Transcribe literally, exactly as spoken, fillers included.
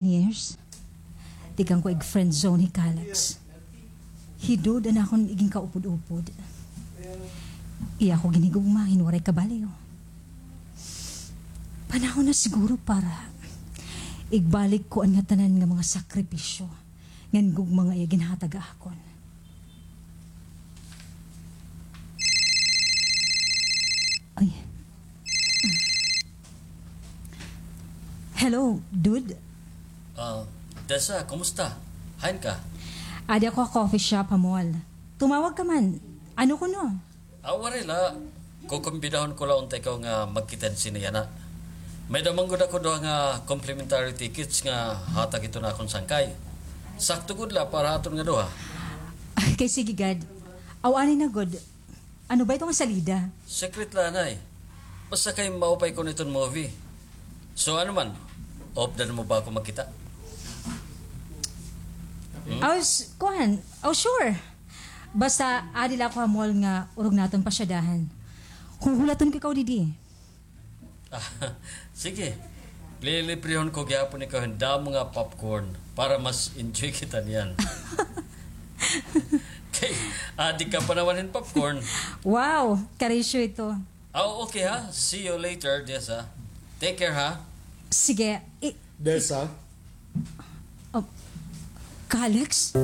Years, tikang ko ig friend zone hi Kalex. Hi Dud an akon iginkaupod-upod. Iya ko ginhigugma hin waray kabalyo. Panahon na siguro para igbalik ko an ngatanan nga mga sakripisyo ngan gugma nga iya ginhatag ha akon. Ay. Hello, Dud. Ah, Dessa, kumusta? Hain ka? Adi ako ha coffee shop ha mall. Tumawag ka man. Ano kuno? Ah, waray la. Kukumbidahon ko la unta ikaw nga magkita hin sine yana. May-ada man gud ako duha nga complimentary tickets nga hatag hiton akon sangkay. Sakto gud la para ha aton nga duha. Kay sige gad. Aw, anay na gud. Ano ba ito nga salida? Secret la anay. Basta kay maupay ko niton movie. So ano man, off da mo ba ako magkita? Hmm? Aw, s-, kuan. Aw, sure. Basta adi la ako ha mall nga urog naton pasyadahan. Huhulaton ko ikaw didi. Ah, sige. Lilibrehon ko gihapon ikaw hin damo nga popcorn para mas enjoy kita niyan. Kay, adi ka pa naman hin popcorn. Wow, karisyo ito. Ah, okay ha. See you later, Dessa. Take care ha. Sige. I- Dessa? Oh, Kalex?